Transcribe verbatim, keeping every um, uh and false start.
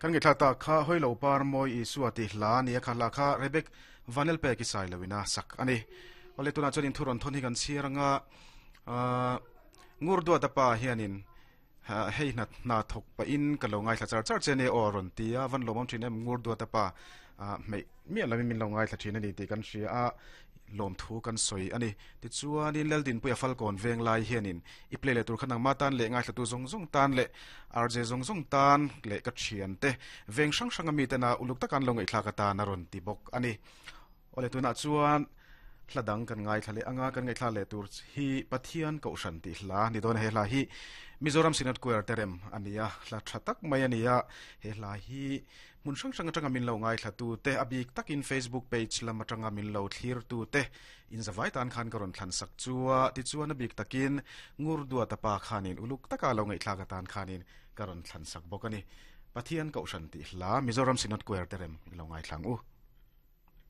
Kan ngi thla ta kha hoilo par moi Isua ti hla ni kha la kha Rebek Vanel pe ki sai lawina sak ani. Ole tuna chuan in thuron thon hi kan chiranga a ngur dua ta pa hianin hei na na thok pa in ka lo ngai thla char char chene oron tia van lomom thin em ngur dua ta pa mei mi lami min lo ngai thla thin ani ti kan hria a lom thu kan soi ani. Ti chuan in leldin puya falkon veng lai hianin i play le tur khanang ma tan le ngai thla tu zong zong tan le R J zong zong tan le ka thian te veng sang sang ami te na uluk takan lo ngai thla ka ta na ron ti bok ani. Ole tuna chuan hladang kan ngai thlale anga kan ngai thlale tur hi Pathian ko shan ti hla ni don. He hla hi Mizoram Synod Choir terem ania, hla thatak mai ania. He hla hi mun sang sang atanga min lo ngai thla tu te, abik takin Facebook page lam atanga min lo thlir tu te in zawai tan khan karon thlan sak chua. Ti chuan abik takin ngur dua tapa khanin uluk taka lo ngai thla ka tan khanin karon thlan sak bokani. Pathian ko shan ti hla, Mizoram Synod Choir terem, lo ngai thlang u.